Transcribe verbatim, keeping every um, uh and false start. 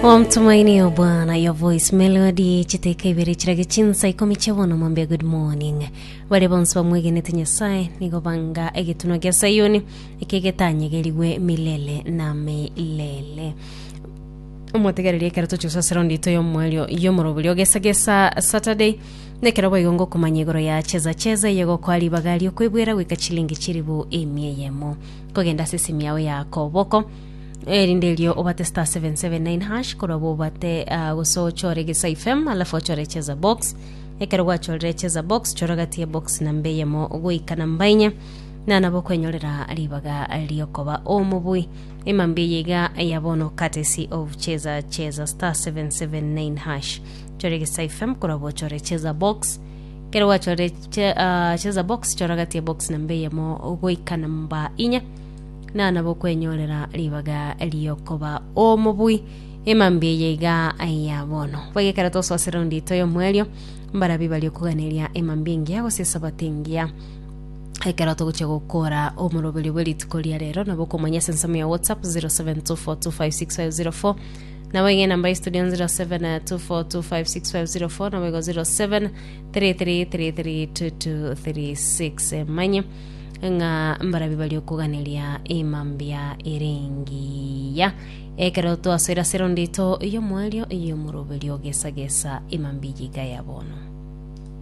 Wamtumaini Bwana, your voice melody chiteka ibere chirage chinsa ikomi chia mwambia good morning. Bare bonsi bamwegenete Nyasaye nigo banga egetunwa gia Sayuni ekegetanyegeriwe milele na milele. Omotegereria, ekero tochigosasera ndito y'omwerio y'omoroberi ogesagesa Saturday, nekero boigo ngokomanya igoro ya Cheza Cheza yegokoa ribaga riokoibwera goika chilingi chiribu emia eyemo kogenda ase esimu yawe ya koboko, erinde erio obate star seven seven nine hash, korwa bobate uh, gose ochore Gesa F M, alafu ochore Cheza Box. Ekero gwachorire Cheza Box, chora gati ya box namba eyemo goika namba inye, na nabo kwenyorera ribaga riokoba omobui emambi eye iga ya bono, courtesy of Cheza Cheza. Star seven seven nine hash, chore Gesa F M, korwa bochore Cheza Box. Kero gwachorire che, uh, Cheza Box, chora gati ya box namba eyemo goika namba inya, na nabo kwenyorera ribaga riokoba omobui emambi eye iga ya bono. Bagekera tososera ndito y'omwerio mbarabi bari okuganeria emambi engiya gose esabati engiya ekero togochia gokora omoroberi bwe rituko ria rero. Nabo okomanya ase ensemo ya WhatsApp zero seven two four two five six five zero four, nabo iga enamba ya studio zero seven two four two five six five zero four, nabo igo zero seven three three three three two two three six. Manye ng'a mbarabi bari okuganeria emambia erengiya ekero twasoera ase erondito y'omwerio y'omoroberi ogesagesa emambi yiga ya bono.